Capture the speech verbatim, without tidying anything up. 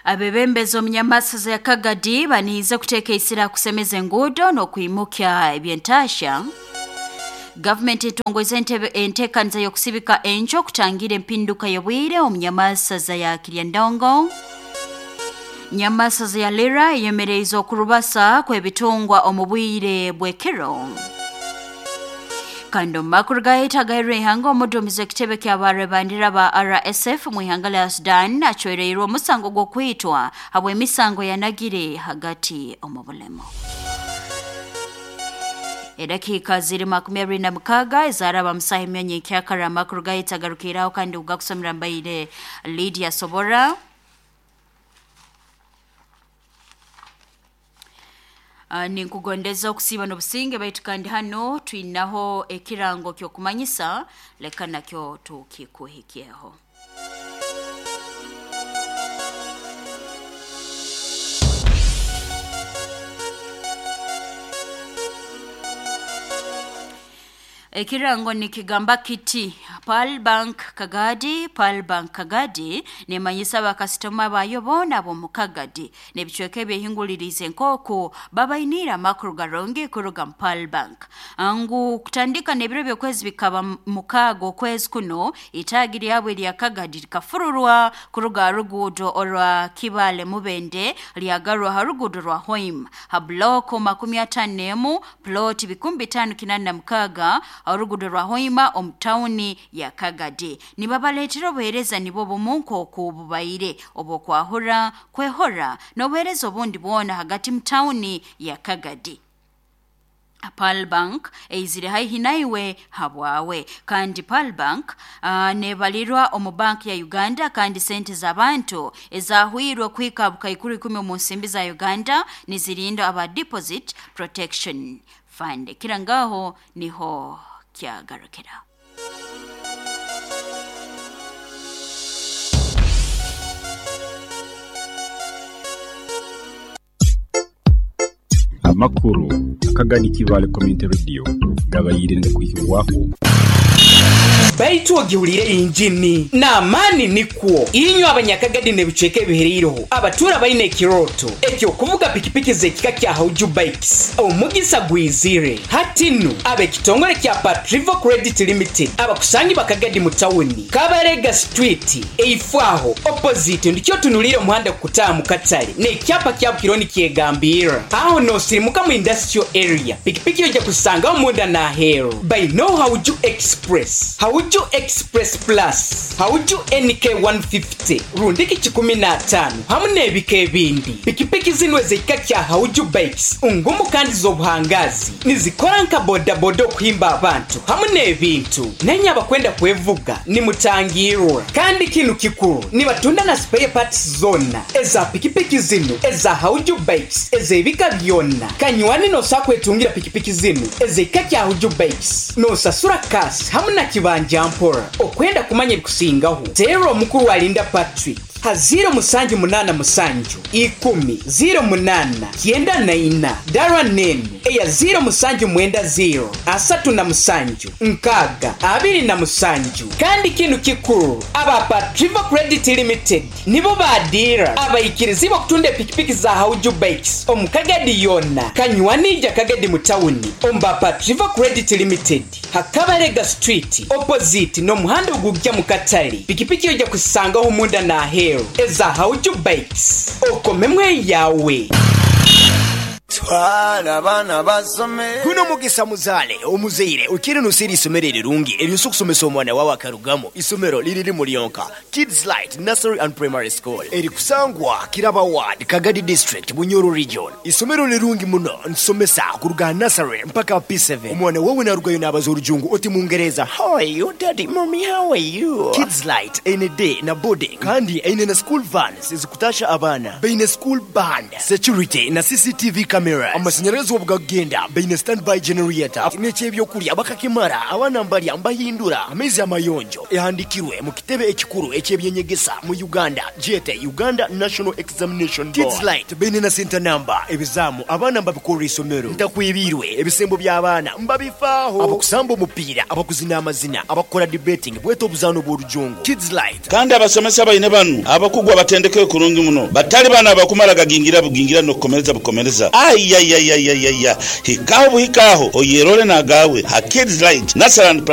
Abebembezi omunyamasaza ya Kagadi baniize kuteeka isira kusemeza enguudo n'okwimukya ebyentasha. Gavumenti etongweze enteekaniza y'okusibika enjo okutangira empinduka y'obwire omunyamasaza ya Kiryandongo. Nyamasaza ya Lira eyemereize okurubasa kw'ebitungwa omu bwire bw'ekiro. Kandi omu makuru gahita ihanga, omuduumizi w'ekitebe ky'abarebandira ba R S F mu ihanga lya Sudan acwereirwe omusango gw'okwitwa habw'emisango yanagire hagati omu bulemu. Edakiika ziri makumi abiri na mukaaga ezaraba musaha emyanya ekyakara. Amakuru gahita agarukiraho, kandi ugakusomera mbaire Lydia Sobora. Uh, ninkugondeza okusiiba n'obusinge, baitu kandi hano twinaho ekirango ky'okumanyisa, leka nakyo tukikuhikyeho. Ekirango nikigamba kiti: Pearl Bank Kagadi. Pearl Bank Kagadi nemanyisa abakasitoma bayo boona ab'omu Kagadi n'ebicweka ebyehingulirize nk'oku babainiire amakuru garungi kuruga mu Pearl Bank, ngu kutandika n'ebiro by'okwezi bikaba mukaaga okwezi kuno, itaagi lyabo erya Kagadi likafururwa kuruga ha ruguudo orwa Kibale Mubende, lyagarwa ha ruguudo rwa Hoima, ha block makumi ataano n'emu, plot bikumi bitaano kinaana na mukaaga, oruguudo rwa Hoima omu tawuni ya Kagadi. Nibabaleetera obuheereza nibwo bumu nk'oku bubaire obw'okwahura, kwehora n'obuheereza obundi bwona hagati mu tawuni ya Kagadi. Pearl Bank eizire haihi naiwe habwawe. Kandi Pearl Bank uh, nebalirwa omu bank ya Uganda, kandi sente z'abantu ezahwirwe kuhika bukaikuru ikumi omu nsimbi za Uganda nizirinda aba Deposit Protection Fund. Kira ngaho niho kyagarukira. Amakuru Akagadi Kibale Community Radio gabayire ngakwihibwaho. Baitu ogiwulire injini n'amaani nikwo inywe abanyakagadi n'ebicweka ebihereireho abatuura baine ekiroto ekyokuvuga pikipiki z'ekika kya Hauju Bikes, omugisa gwizire hati nu. Ab'ekitongole kya Patrivo Credit Limited abakusangi bakagadi mu tawuni, Kabarega Street, eifaaho opposite ndikyo tunulire omuhanda kukutaaha mu katale n'ekyapa kya Bukironi kyegambirra aho nosirimuka mu industrial area. Pikipiki ojja kusangaho munda n'aheeru. Baino Hauju Express, Hauju Express Plus, Hauju N K one fifty rundiki kikumi n'ataano hamu n'ebika ebindi. Pikipiki zinu ez'ekika kya Hauju Bikes ngumu kandi z'obuhangazi, nizikora nka bodaboda okuhimba abantu hamu n'ebintu. Nenye abakwenda kwevuga nimutangirwa. Kandi kinu kikuru, nibatunda na spare parts zona eza pikipiki zinu eza Hauju Bikes ez'ebika byonna. Kanywani, nosobola kwetungira pikipiki zinu ez'ekika kya Hauju Bikes nosasura cash hamu na kibanja mpora. Okwenda kumanya ebikusingaho, teera omukuru alinda Patrick ha zero musanju munaana musanju ikumi zero munaana kyenda na ina, dara nenu eya zero musanju mwenda zero asatu na musanju nkaaga abiri na musanju. Kandi kinu kikuru, aba Patrivo Credit Limited nibo badira abayikirizibwa okutunda epikipiki za Hauju Bikes omu Kagadi yonna. Kanywanija Kagadi mu tawuni omba Patrivo Credit Limited, Hakabarega Street, opposite n'omuhanda ogujja mu katale. Pikipiki ojja kusangaho munda n'aheeru eza Hauju Bikes, okomemu eyawe. Twala abaana basome. Guno mugisa muzaale omuzaire okire nosera isomero erirungi eryosa okusomesa omwana wawe akarugamu. Isomero liriri mulyonka, Kids Light Nursery and Primary School, erikusangwa Kiraba Ward, Kagadi District, Bunyoro Region. Isomero lirungi muno, nsomesa kuruga nursery mpaka P seven. Omwana wawe narugayo nabaza orujungu oti mungereza, "How are you, daddy? Mommy, how are you?" Kids Light eine day na boarding, kandi eine na school vans ezikutasha abaana, baine school band, security na C C T V cameras. cameras. Amasanyarazi obugagenda baine standby generator n'ekyebyokulya bakakimara abaana mbalya mbahindura amaizi amayonjo ehandikirwe mu kitebe ekikuru ekyebyenyegesa mu Uganda jete Uganda National Examination Board. Kids Light baine na center number ebizaamu abaana mbabikorera isomero ntakwibirwe ebisembo by'abaana mbabifaaho abakusamba omupiira, abakuzina amazina, abakukora debating bweta obuzaano bw'orujungu. Kids Light Kandi abasomesa baine banu abakugwa batendekere kurungi muno batali bana abakumara gagingira bugingira n'okukomereza bukomereza ayayayayaya hikaho buhikaho oyerole nagawe ha Kids Light Nursery and Primary.